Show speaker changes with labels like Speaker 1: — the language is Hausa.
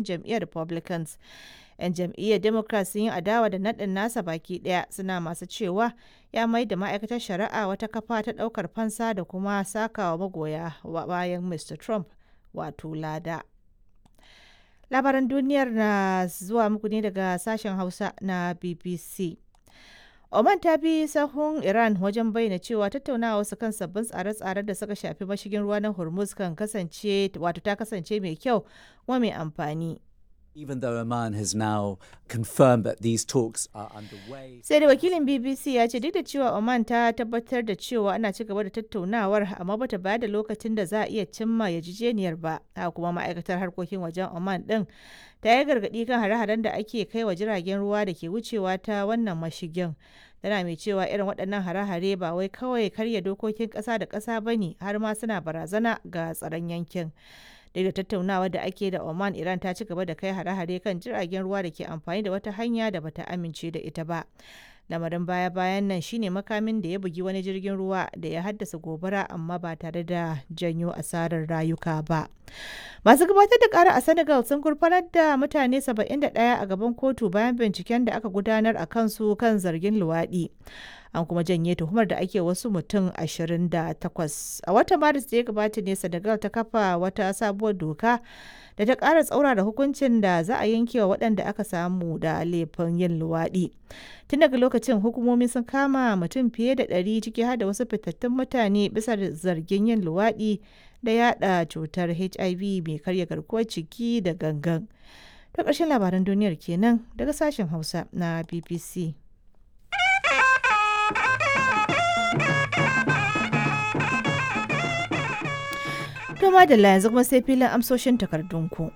Speaker 1: Jam'iyyar Republicans. 'Yan jam'iyyar Democrat sun yi adawa da naɗin nasa baki ɗaya, suna masu cewa ya mai da ma'aikatar shari'a wata kafa ta ɗaukar fansa da kuma sakawa magoya bayan Mr. Trump wato lada. Labaran duniyar na zuwa muku ne daga sashen Hausa na BBC. Oman ta bi sahun Iran wajen bayyana cewa tattaunawa su kan sabbin tsare-tsaren da suka shafi mashigin ruwa na Hormuz kan kasance wato ta kasance mai kyau kuma mai amfani.
Speaker 2: Even though Oman has now confirmed that these talks are underway.
Speaker 1: Sai da wakilin BBC ya ce duk da cewa Oman ta tabbatar da cewa ana ci gaba da tattaunawar, amma bata bayar da lokacin da za a iya cimma yarjejeniyar ba. Haka kuma ma'aikatar harkokin wajen Oman din ta yi gargaɗi kan hare-haren da ake kai wa jiragen ruwa da ke wucewa ta wannan mashigin. Tana mai cewa irin waɗannan hare-hare ba wai kawai karya dokokin ƙasa da ƙasa ba ne, har ma suna barazana ga tsaron yankin. Duk da tattaunawa da ake da Oman, Iran ta ci gaba da kai hare-hare kan jiragen ruwa da ke amfani da wata hanya da bata amince da ita ba. Lamarin baya-bayan nan shine makamin da ya bugi wani jirgin ruwa da ya haddasa gobara, amma ba tare da janyo asarar rayuka ba. Masu gabatar da kara a Senegal sun gurfanar da mutane 71 a gaban kotu bayan binciken da aka gudanar a kansu kan zargin luwaɗi. An kuma janye tuhumar da ake wasu mutum 28. A watan Maris da ya gabata ne Senegal ta kafa wata sabuwar doka da ta ƙara tsaurara hukuncin da za a yanke wa waɗanda aka samu da laifin yin luwaɗi. Tun daga lokacin hukumomi sun kama mutum fiye da 100, ciki har da wasu fitattun mutane, bisa zargin yin luwaɗi da yada cutar HIV mai karya garkuwar ciki da gangan. Ta ƙarshen labaran duniyar kenan daga sashen Hausa na BBC. To madalla, yanzu kuma sai filin amsoshin takardunku.